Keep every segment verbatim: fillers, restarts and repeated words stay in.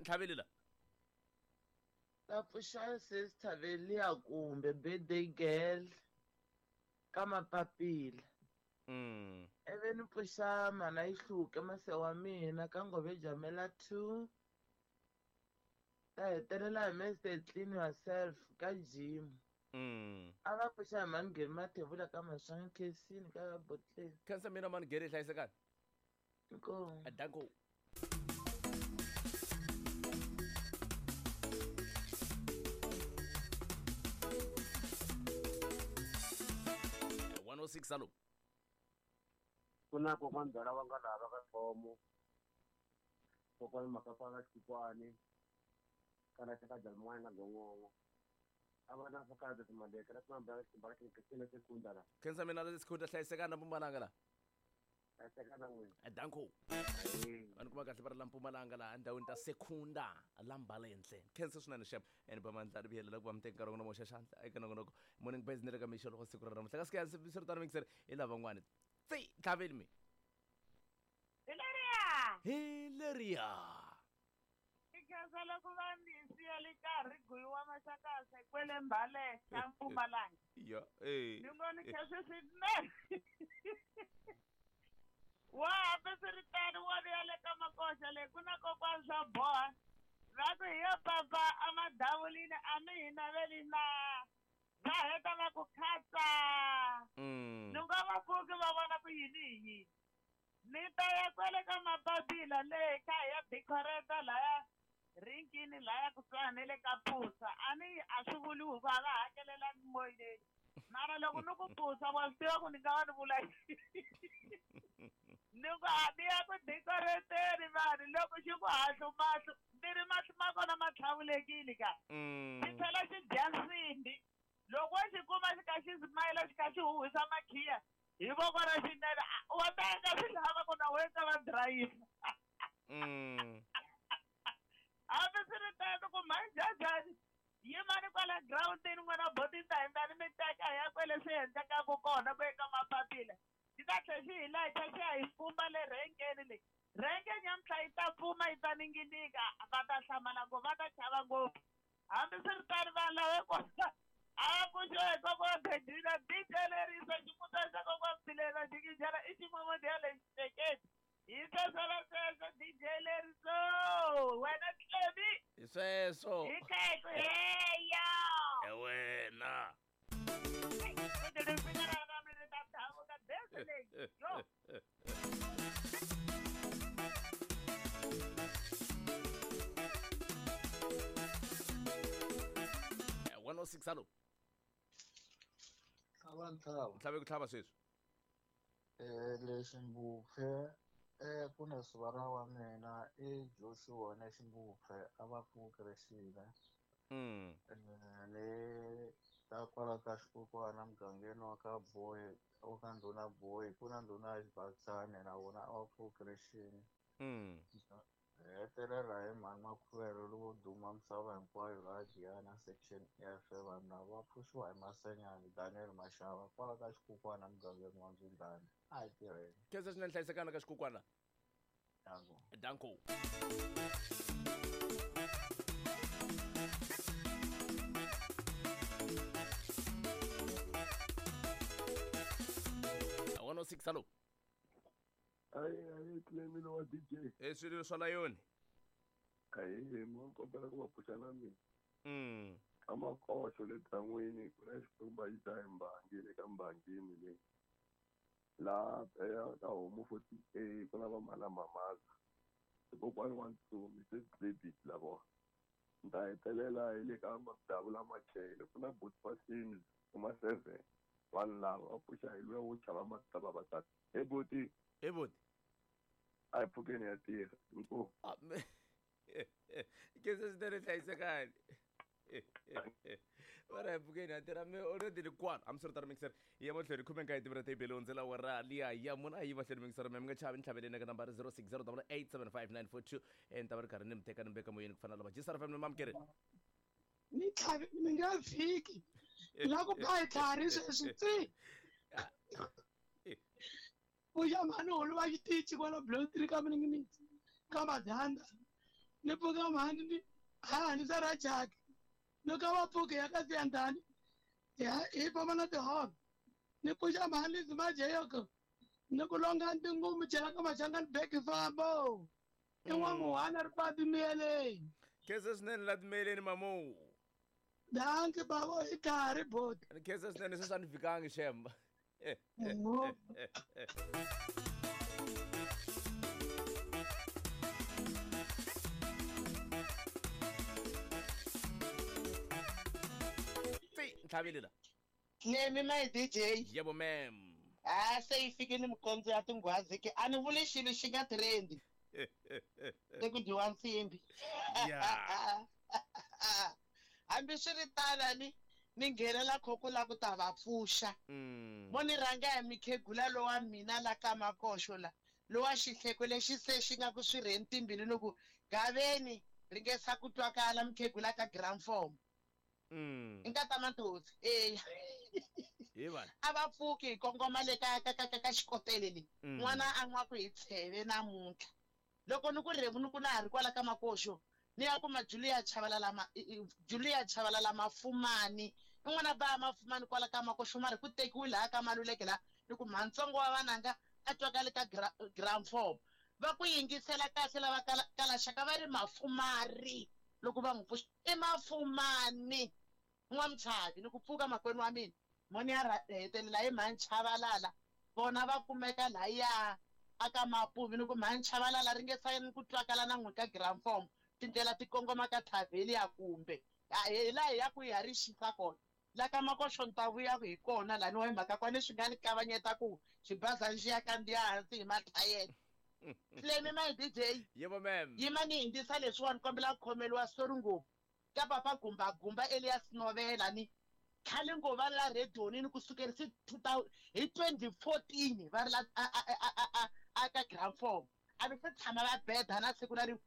Ntlhaveli la. Ta pfuxa sister Velia kumbe birthday girl ka mapapila. Mm. Ivi ni pfuxa mana yi hluke mase wa mina ka ngove jamela two. Ta hetelela hi Mister Clean Yourself ka gym. Mm. A va pfuxa hi Mangheni Mathebula ka Maswangi Khensini ka Botleng. Khensa mina Mangheni hlayisekani. Inkomu. Danko. one oh six alo. Kuna kokwana ndala wa nga lava ka Thomo. Kokwana Makapala Xikwani. Kana ka Jalmwana na Gongongo. A va na fakata timaleka na timambala timbala ke sekunda la. Khensa mina le sekunda hlayisekana Mpumalanga la. Hlayisekana n'wina. Danko. Vanhu kuma kahle va ri la Mpumalanga la endhawini ta Sekunda la Mbalenhle. Khensa swinene xep and ba mandla ri vuyelela ku va mi teka nkarhi wa n'wina mo xaxandla eka nongonoko morning buzz ni le ka mixo loko siku ra namuntlha. Kasi ke swi ri tano mixer hi lavan'wani. Tsi tlhaveli mi. Hi leriya. Hi leriya. Ikhensa loko va ni siya le karhi guyiwa maxakasa kwele Mbale ka Mpumalanga. Ya eh. Ni ngo ni khensa swinene. Wa hambi swi ri tano wa ya le ka makoxa le ku na kokwana swa boha. Va ku hi yo papa a madavulini a mi hi naveli na. Va heta va ku khatsa. Mm. Ni nga va pfuki va vona ku yini hi yini. Ni ta ya kwele ka mapapila le kha hi ya decorate laya rinkini laya kusuhani na le ka Pusa. A ni a swi vuli ku a va hakelelani moyeni. Mara loko ni ku Pusa wa swi tiva ku ni nga va ni vula yini. Ni ku a ni ya ku decorateni vanhu loko xi ku hahlu mahlo ni ri mahlo ma kona ma tlhavulekile ka. Xi tlhela xi dya nsimbi. Loko wo xi kuma xi kha xi smile xi kha xi huhwisa makhiya hi voko ra xinene wa ta endla swi lava ku na wena ka va driver. Mm. Hambi swi ri tano ku mhanjhanjhani yimani kwala groundini n'wina boti ta hindza ni mi teka hi ya kwele swi endlekaka kona ku eka mapapila. Xi ta tlhela xi hi layicha xi ya hi pfumba le rhenkeni leyi. Rhenke nyamuntlha yi ta pfuma yi ta ninginika va ta hlamala ngopfu va ta chava ngopfu. Hambi swi ri tano vanhu lava kona a va pfuxiwa hi kokwana Bedina D J lerisa ximutana xa kokwana Mbilela Jikijela i ximomodi ya le xiteketi. Hi sweswo sweswo D J leriso wena Tlemi. Hi sweswo. Hi khaku heya. E wena. one oh six alo. Tlhava ntlhava. Ntlhave ku tlhava sweswi. Eh le Ximbupfe eh ku na sivara wa mina i Joshua na Ximbupfe a va pfukiresile. Mm. Le ta kwala ka xikokwana mugangeni wa ka Boy wa ka ndhuna Boy ku na ndhuna ya Xibatsane na vona a va pfukiresile. Mm. Hetelela hi mhani Makhuvelo lowo duma misava hinkwayo laha Giyani section F vanhu lava va pfuxiwa hi Masenyani Daniel Mashava kwala ka xikukwana mugangeni wa Ndzundlani a hi tirheni. Khensa swinene hlayisekana ka xikukwana. Danko. Danko. one oh six alo. Ayi ayi Clemilo wa D J. Eh swilo swa layoni. Ayi mo kombela ku va pfuxa na mina. Mm. Ka makoxo le dan'wini ku na xikwembu yi ta hi mbangi le ka mbangini le. La ya ka homu forty A ku na va mhala mamaza. Kokwani wa Ntsumi se David la vona. Nta hetelela hi le ka madavula machele ku na Botfasini kuma seven. Vanhu lava va pfuxa hi luya wo chava matava va tata. Hey buti. Hey buti. A hi pfukeni ya tirha. Inkomu. Khensa swinene hlayisekani. Va ri hi pfukeni ya tirha mi already ni kwala. Hambi swi ri tano mixer hi ya mahlweni khume nkaye timira tebele hundzela wara liya ya muna a yi mahlweni mixer mi nga chavi ni tlhaveleni eka nambara zero six zero double eight seven five nine four two ni ta va ri karhi ni mi teka ni mi veka moyeni ku fana na lava G S R F M ni mamukeri. Ni tlhavi mi nga fiki. La ku ba hi tlhari sweswi tsi. Pfuxa mhani holo va xitichi kwala block three ka mininginitsi ka Madanda. Ni pfuka mhani ni ha ni sa ra jaki. Ni ka va pfuki ya ka siyandani. Ya hi famba na tiholo. Ni pfuxa mhani Zimajeyoko. Ni ku longa ntingumu chela ka machangani beki fambo. I n'wamuhana ri pati miyeleni. Khensa swinene la timeleni mamu. Danki babo i karhi boti. Ni khensa swinene sweswi a ni fikangi shemba. Ti ntlhavile la. Nemi my D J. Yebo ma'am. Ah se yi fikile mikondzo ya tinghwazi ke a ni vuli xilo xi nga trendi. Se ku dyiwa nsimbi. Yeah. Hambi swi ri tano ni ni nghenela khoko la ku ta va pfuxa. Mo ni rhanga hi mikhegula lowa mina la ka makoxo la lowa xihleko lexi se xi nga ku swi rheni timbilu ni ku gaveni ringesa ku twakala mikhegula ka gramform. Mm. I nkata Manthosi eya. Hi vana. A va pfuki hi kongoma le ka ka ka ka xikotele le. N'wana a nwa ku hi tsheve namuntlha. Loko ni ku rhevu ni ku na ha ri kwala ka makoxo ni ya kuma Julia Chabalala ma Julia Chabalala Mafumani. I n'wana ba Mafumani kwala ka makoxo mara ku tekiwe laha ka Maluleke la ni ku mhantsongo wa vananga a twakale ka gramform. Va ku yingisela kahle lava kalaxaka va ri Mafumari loko va n'wi pfuxa i Mafumani. N'wamchavi ni ku pfuka makwenu wa mina moni ya hetelela hi mhani Chabalala vona va kumeka laya aka Mapuvi ni ku mhani Chabalala ringesa ni ku twakala na n'wi ka gramform tindlela ti kongoma ka Thavelia kumbe hi laha hi ya ku hi ya ri xisa kona la ka makoxo ni ta vuya hi kona lani wa hi mhaka kwani swi nga ni kavanyeta ku xibazana xi ya kandziya hansi hi mathayele. Flemi my D J. Yebo ma'am. Yima ni hindzisa leswiwani kombela ku khomeriwa sorry ngopfu ka papa Gumba Gumba Elias Novela ni khale ngo va la redioni ni kusukerisa hi twenty fourteen va ri la a ka gramform a va se tshama va beda na siku na rin'we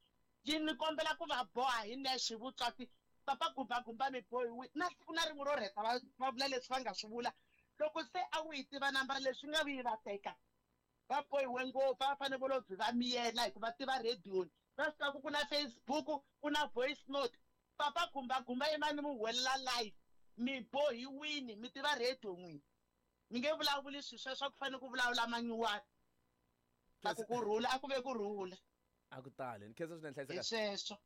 yi ni kombela ku va boha hi nexe vutswatsi papa Gumba Gumba mi bohiwi na siku na rin'we ro rheta va va vula leswi va nga swi vula loko se a wu yi tiva nambara leswi nga vuyi va teka va bohiwe ngopfu va fanele vo lo byi va miyela hikuva tiva redioni va swi tiva ku ku na Facebook ku na voice note papa Gumba Gumba yima ni mu huwelela live mi bohiwini mi tiva radio n'wini mi nge vulavuli swilo sweswo ku fanele ku vulavula manyuwana a ku kurhula a ku ve kurhula a ku tali ni khensa swinene hlayiseka hi sweswo.